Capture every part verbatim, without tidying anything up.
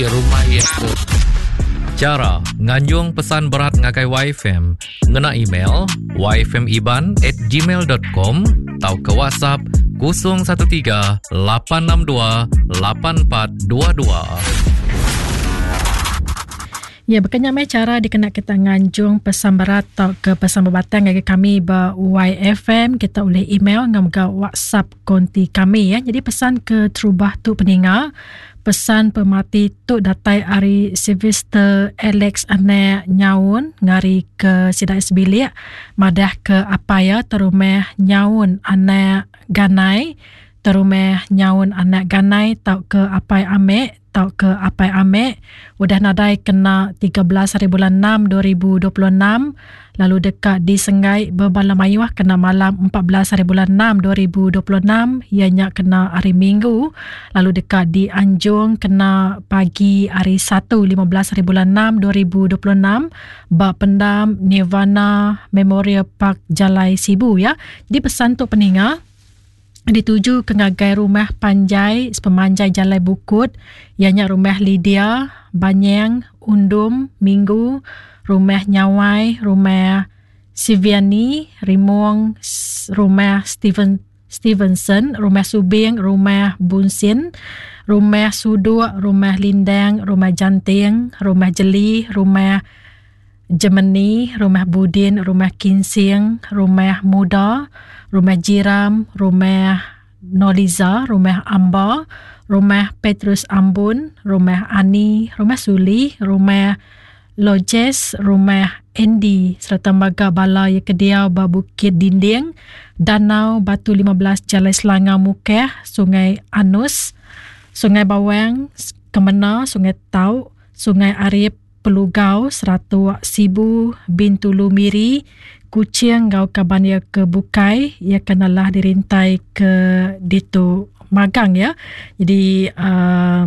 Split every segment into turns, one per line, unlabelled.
Rumah iya tu. Chara nganjung pesan berat ngagai Y F M ngena email y f m iban at gmail dot com tauka WhatsApp kosong satu tiga lapan enam dua lapan empat dua dua.
Ya, berkenyak mai cara dikena kita nganjung pesan berat atau ke pesan berbatang ngagai kami ba Y F M, kita boleh email ngau mega WhatsApp konti kami ya. Jadi pesan ke terubah tu peninga, pesan pemati tu datai ari Sylvester Alex Anek Nyaun ngari ke Sidai Sebilik madah ke apa ya terumeh Nyaun Anek Ganai, terumeh Nyaun Anek Ganai tau ke apai Amek tau ke apai Amek udah nadai kena tiga belas hari bulan enam dua ribu dua puluh enam lalu dekat di Senggai berbala mayuh kena malam empat belas hari bulan enam dua ribu dua puluh enam ianya kena hari Minggu lalu dekat di Anjung kena pagi hari Satu lima belas hari bulan enam dua ribu dua puluh enam ba pendam Nirvana Memorial Park Jalai Sibu ya. Jadi pesan tu peninga dituju ke ngagai rumah panjai sepemanjai Jalai Bukut ianya rumah Lydia, Banyang, Undum, Minggu, rumah Nyawai, rumah Siviani, Rimong, rumah Steven Stevenson, rumah Subing, rumah Bunsin, rumah Suduk, rumah Lindang, rumah Janting, rumah Jeli, rumah Gemini, rumah Budin, rumah Kinsing, rumah Muda, rumah Jiram, rumah Noliza, rumah Amba, rumah Petrus Ambun, rumah Ani, rumah Suli, rumah Lojes, rumah Andy serta maga bala yang kediau ba Bukit Dinding, Danau Batu lima belas Jalai Selangor Mukeh, Sungai Anus, Sungai Bawang, Kemena, Sungai Tau, Sungai Arif, Pelugau, Seratuk, Sibu, Bintulu Miri, Kuching ngau kaban ia ke Bukai, ia kenalah dirintai ke Ditu Magang ya. Jadi uh,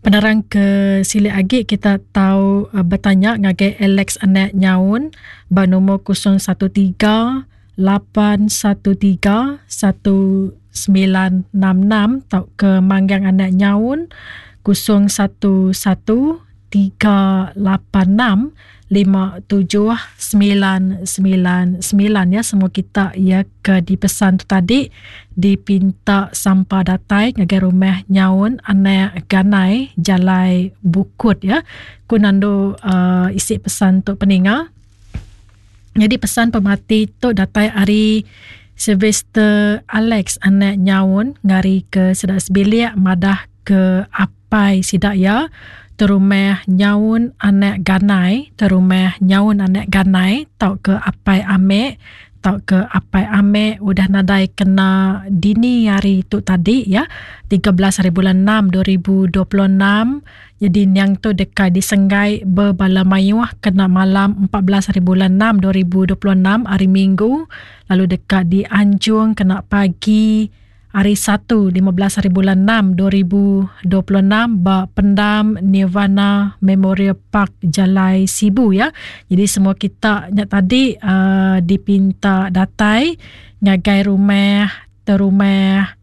penerang ke silik agi kita tahu uh, bertanya ngagai Alex Anek Nyaun ba nombor kosong satu tiga lapan satu tiga satu sembilan enam enam tau ke Manggang Anek Nyaun kosong satu satu tiga lapan enam lima tujuh sembilan sembilan sembilan ya. Semua kita ya ke dipesan tu tadi dipinta sampah datai ngagai rumah Nyaun Anek Ganai Jalai Bukut ya. Ku nandu uh, isi pesan tu peninga. Jadi pesan pemati tu datai ari Sylvester Alex Anek Nyaun ngari ke Sedak Sebilik madah ke apai sidak ya. Terumah Nyaun Anek Ganai, terumah Nyaun Anek Ganai tau ke apai Amek, tau ke apai Amek udah nadai kena dini hari tu tadi ya, tiga belas hari bulan enam dua ribu dua puluh enam. Jadi yang tu dekat disenggai berbala mayuh kena malam empat belas hari bulan enam dua ribu dua puluh enam hari Minggu, lalu dekat di Anjung kena pagi hari Satu lima belas hari bulan enam dua ribu dua puluh enam ba pendam Nirvana Memorial Park Jalai Sibu ya. Jadi semua kita nyak tadi uh, dipinta datai ngagai rumah terumah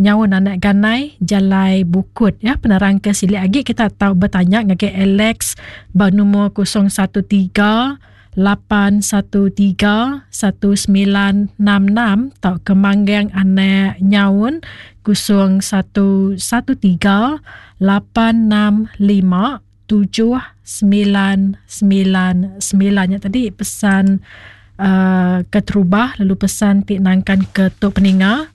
Nyaun Anak Ganai Jalai Bukut ya. Penerang ke silik agi kita tahu bertanya ngagai Alex ba nombor kosong satu tiga lapan satu tiga satu sembilan enam enam tau ke Manggang Anak Nyaun kosong satu satu tiga lapan enam lima tujuh sembilan sembilan sembilan. Ya, tadi pesan uh, keterubah lalu pesan ti nangkan ke tok peninga.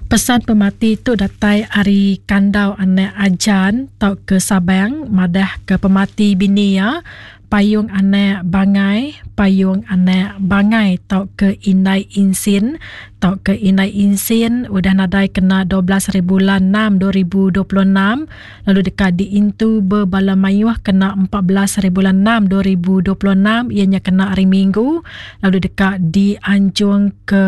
Pesan pemati tu datai ari Kandau Anak Ajan tau ke Sabang madah ke pemati bini ya. Payung Anak Bangai, Payung Anak Bangai tau ke Indai Insin, tau ke Indai Insin udah nadai kena dua belas hari bulan enam dua ribu dua puluh enam lalu dekat diintu berbala mayuh kena empat belas hari bulan enam dua ribu dua puluh enam ianya kena hari Minggu lalu dekat dianjung ke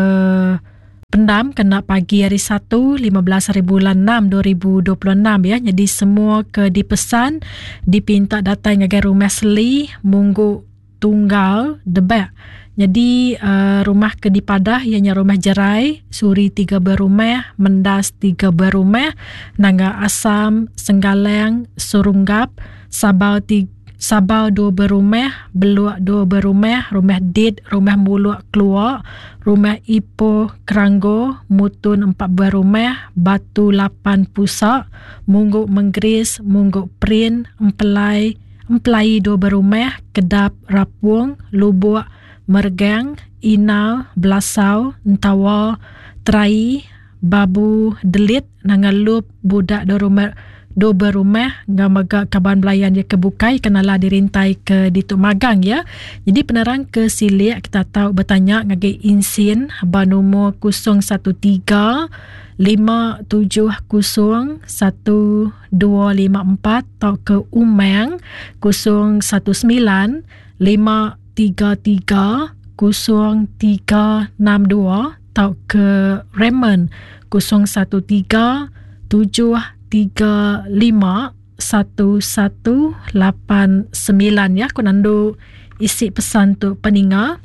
pendam kena pagi hari Satu lima belas hari bulan enam dua ribu dua puluh enam ya. Jadi semua ke dipesan dipinta datang ngagai rumah Seli Munggu Tunggal Debak. Jadi uh, rumah ke dipadah ianya rumah Jerai, Suri tiga berumah, Mendas tiga berumah, Nangga Asam, Senggalang, Surunggap, Sabau tiga Sabau dua berumah, Beluak dua berumah, Rumah Dit, Rumah Muluk Keluar, Rumah Ipoh Keranggo, Mutun empat berumah, Batu lapan Pusak, Mungguk Menggeris, Mungguk Prin, Empelai, Empelai dua berumah, Kedap Rapung, Lubuk Mergang, Inal, Belasau, Entawa, Terai, Babu Delit, Nangalup, Budak dua rumah, dua berumah, ngamaga kaban belayan dia kebukai kenalah dirintai ke ditu magang ya. Jadi penerang ke silik kita tahu bertanya ngagai insin ba nombor kosong satu tiga lima tujuh kosong satu dua lima empat atau ke Umang kosong satu sembilan lima tiga tiga kosong tiga enam dua atau ke Raymond kosong satu tiga tujuh tiga lima satu satu lapan sembilan ya. Aku nandu isi pesan tu peninga.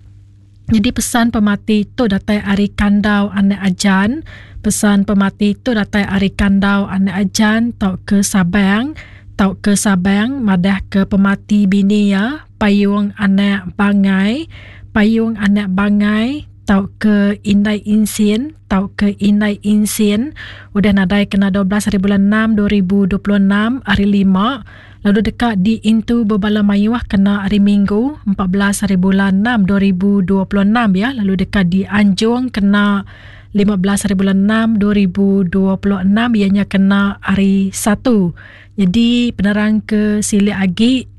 Jadi pesan pemati tu datai ari Kandau Anak Ajan. Pesan pemati tu datai ari Kandau Anak Ajan tau ke Sabang, tau ke Sabang madah ke pemati bini ya, Payung Anak Bangai, Payung Anak Bangai tau ke Indai Insin, tau ke Indai Insin udah nadai kena dua belas hari bulan enam dua ribu dua puluh enam hari lima, lalu dekat di Intu Bebala Mayuah kena hari Minggu empat belas hari bulan enam dua ribu dua puluh enam ya, lalu dekat di Anjung kena lima belas hari bulan enam dua ribu dua puluh enam ianya kena hari satu. Jadi penerang ke silik agi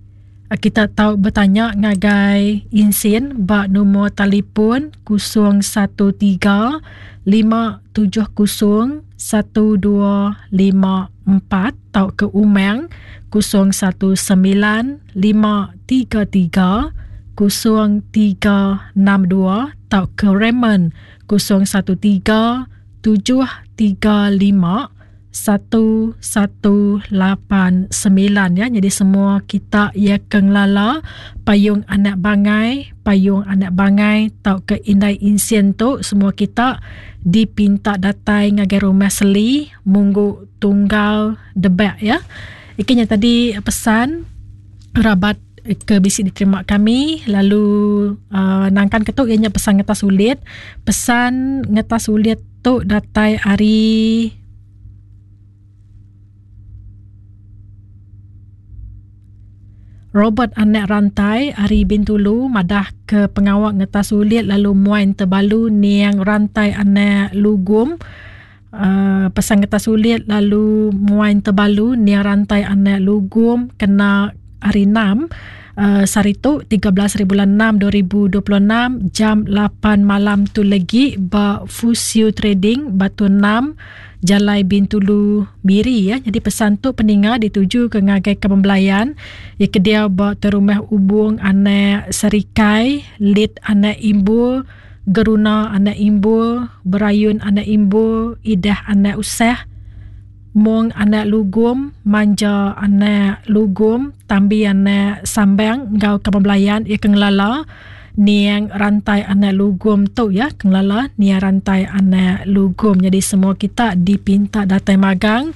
kita tahu bertanya ngagai Insin bak nombor telefon kosong satu tiga lima tujuh kosong satu dua lima empat atau ke Umang kosong satu sembilan lima tiga tiga kosong tiga enam dua atau ke Raymond kosong satu tiga tujuh tiga lima satu satu lapan sembilan ya. Jadi semua kita ya kenglala Payung Anak Bangai, Payung Anak Bangai tau ke Indai Insien tu semua kita dipinta datai ngagai rumah Seli Munggu Tunggal Debak ya. Ikinya tadi pesan rabat ke bisi diterima kami, lalu uh, nangkan ketuk ianya pesan ngetas sulit. Pesan ngetas sulit tu datai hari Robert Anak Rantai ari Bintulu madah ke pengawak ngetas sulit lalu muain terbalu niang Rantai Anak Lugum. Uh, pesan ngetas sulit lalu muain terbalu niang Rantai Anak Lugum kena hari enam uh, saritu tiga belas hari bulan enam dua ribu dua puluh enam jam lapan malam tu lagi ba Fusio Trading Batu enam Jalai Bintulu Miri ya. Jadi pesan tu peninga dituju ke ngagai ke pembelayan ya ke dia ba terumah Ubung Anak Serikai, Lit Anak Imbul, Geruna Anak Imbul, Berayun Anak Imbul, Idah Anak Usah, Mong Anak Lugum, Manja Anak Lugum, Tambi Anak Sambang ngau ke pembelayan ya ke ngelala niang Rantai Anak Lugum tu ya, kenglala niang Rantai Anak Lugum. Jadi semua kita dipinta datai magang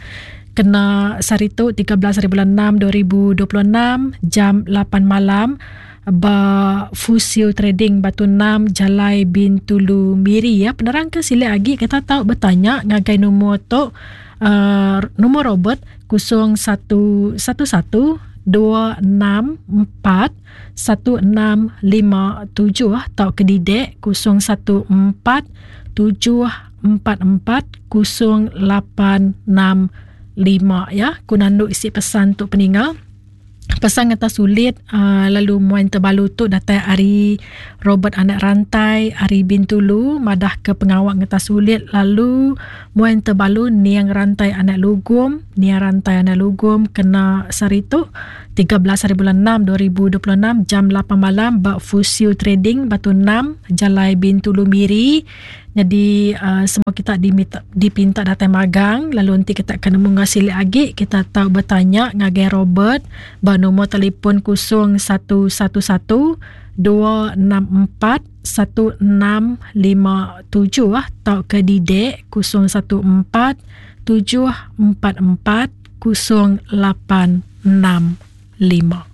kena saritu tiga belas hari bulan enam dua ribu dua puluh enam jam lapan malam ba Fusio Trading Batu enam Jalai Bintulu Miri ya. Penerang ke silik lagi kita tahu bertanya ngagai nombor tu uh, nombor Robert kosong satu satu satu dua enam empat satu enam lima tujuh atau ke Didek kosong satu empat tujuh empat empat kosong lapan enam lima ya. Ku nandu isi pesan tu peninga. Pesan ngetas sulit uh, lalu muan terbalu tu datai ari Robert Anak Rantai ari Bintulu madah ke pengawak ngetas sulit lalu muan terbalu niang Rantai Anak Lugum, niang Rantai Anak Lugum kena saritu tiga belas hari bulan enam dua ribu dua puluh enam jam lapan malam bak Fusio Trading Batu enam Jalai Bintulu Miri. Jadi uh, semua kita diminta, dipinta datang magang lalu nanti kita akan nemu ngasilik lagi kita tahu bertanya ngagai Robert ba nombor telefon kosong satu satu satu dua enam empat satu enam lima tujuh atau ke Didek kosong satu empat tujuh empat empat kosong lapan enam lima.